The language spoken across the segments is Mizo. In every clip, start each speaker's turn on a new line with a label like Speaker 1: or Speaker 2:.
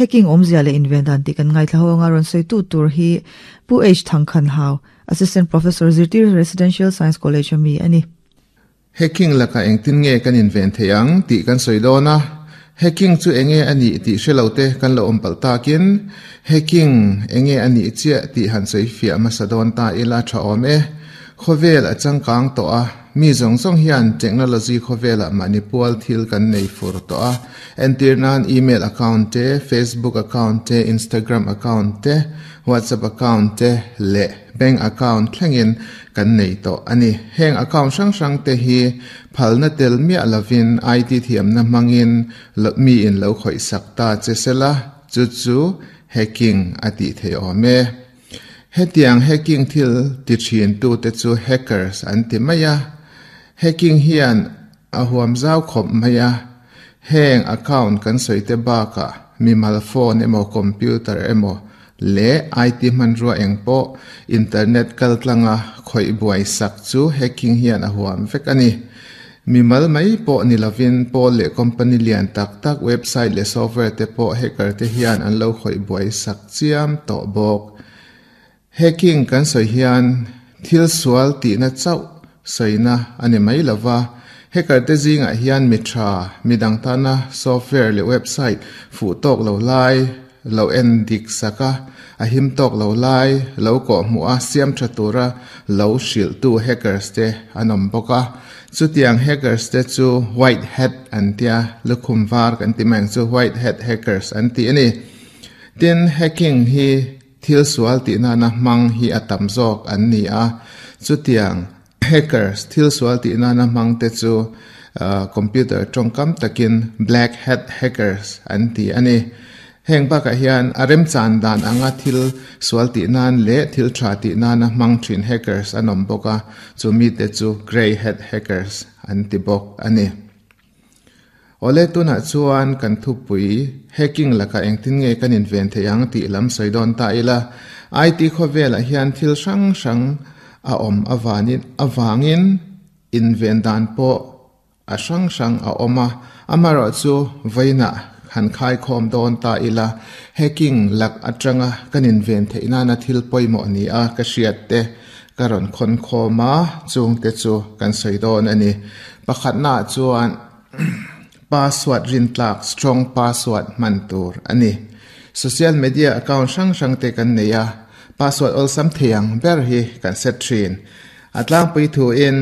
Speaker 1: Hacking awmzia leh inven dan tih kan ngaithla ho anga rawn sawitu tur hi Pu H Thangkhan Hau, Assistant Professor, Zirtir Residential Science College a mi a ni.
Speaker 2: Hacking lakah engtin nge kan inven theih ang tih kan sawi dawn a, hacking chu enge a nih tih hre lo te kan lo awm palh takin hacking enge a nih chiah tih han sawi fiah hmasa dawn ta ila tha awm e. Khawvel a changkang tawh a, mi zawng zawng hian technology khawvelah mahni pual thil kan nei fur tawh a, entir nan email account te, Facebook account te, Instagram account te, WhatsApp account te leh bank account thlengin kan nei tawh a ni. Heng account hrang hrang te hi phalna tel miah lovin IT thiamna hmangin miin lo khawih sak ta che sela, chu chu hacking a tih theih awm e. Hetiang hacking thil ti thin tute chu hackers an ti mai a. Hacking hian a huam zau khawp mai a, heng account kan sawi te bakah mimal phone emaw computer emaw leh IT hmanrua eng pawh internet kaltlanga khawih buai sak chu hacking hian a huam vek a ni. Mimal mai pawh ni lovin pawl leh company lian tak tak website leh software te pawh hacker te hian an lo khawih buai sak chiam tawh bawk. Hacking kan sawi hian thil sual tihna chauh sawina a ni mai lo va, hacker te zingah hian mi tha, mi dang tana software leh website fuh tawk lo lai lo en dik sak a, a him tawk lo lai lo kawh hmuh a siam tha tura lo hrilhtu hackers te an awm bawk a. Chutiang hackers te chu white hat an tia, lukhum var kan ti mai ang chu, white hat hackers an ti a ni. Tin, hacking hi Thil sual tih nana hmang hi a tam zawk an ni a, chutiang hackers thil sual tih nana hmang te chu computer tawngkam takin black hat hackers an ti a ni. Heng bakah hian a remchan dan anga thil sual tih nan leh thil tha tih nana hmang thin hackers an awm bawk a, chu mite chu grey hat hackers an ti bawk a ni. Awle tunah chuan kan thupui hacking lakah engtin nge kan inven theih ang tih lam sawi dawn ta ila. IT khawvelah hian thil hrang hrang a awm avanin avangin inven dan pawh a hrang hrang a awm a, amaherawhchu vawiinah han khaikhawm dawn ta ila hacking lak atanga kan inven theih nana thil pawimawh ni a ka hriat te ka rawn khawn khawm a, chungte chu kan sawi dawn a ni. Pakhatnaah chuan password rintlak, strong password, hman tur a ni. Social media account hrang hrang te kan nei a, password awlsam thei ang ber hi kan set thin. A tlangpui thuin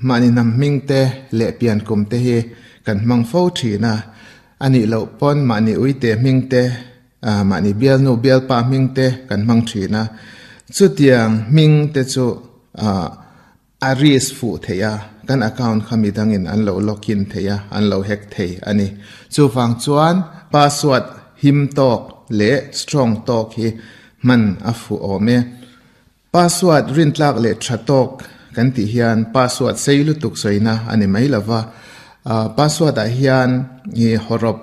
Speaker 2: mahni hnam hming te leh pian kum te hi kan hmang fo thin a, a nih loh pawn mahni uite hming te, Mahni bialnu bialpa hming te kan hmang thin a, chutiang hming te chu a risk fuh theih a, kan account kha midangin an lo login thei a, an lo hack thei a ni. Chuvang chuan password him tawk leh strong tawk hi hman a fuh awm e. Password rintlak leh tha tawk kan tih hian password sei lutuk sawina a ni mai lova, password ah hian i hawrawp,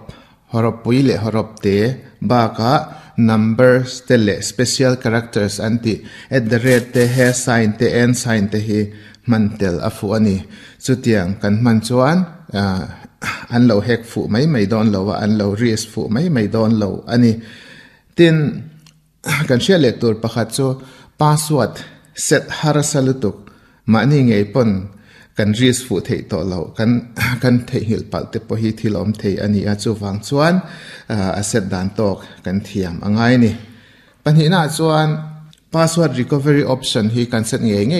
Speaker 2: hawrawp pui leh hawrawp te bakah numbers te leh special characters an tih at the rate te, hash sign te, and sign te hi hman tel a fuh a ni. Chutiang kan hman chuan an lo hack fuh mai mai dawn lo a, an lo risk fuh mai mai dawn lo a ni. Tin. Kan hriat leh tur pakhat chu password set harsa lutuk mahni ngei pawn kan risk fuh theih tawh loh kan kan theihnghilh palh te pawh hi thil awm thei a ni a, chuvang chuan a set dan tawk kan thiam a ngai a ni. Pahnihnaah chuan password recovery option hi kan set ngei ngei.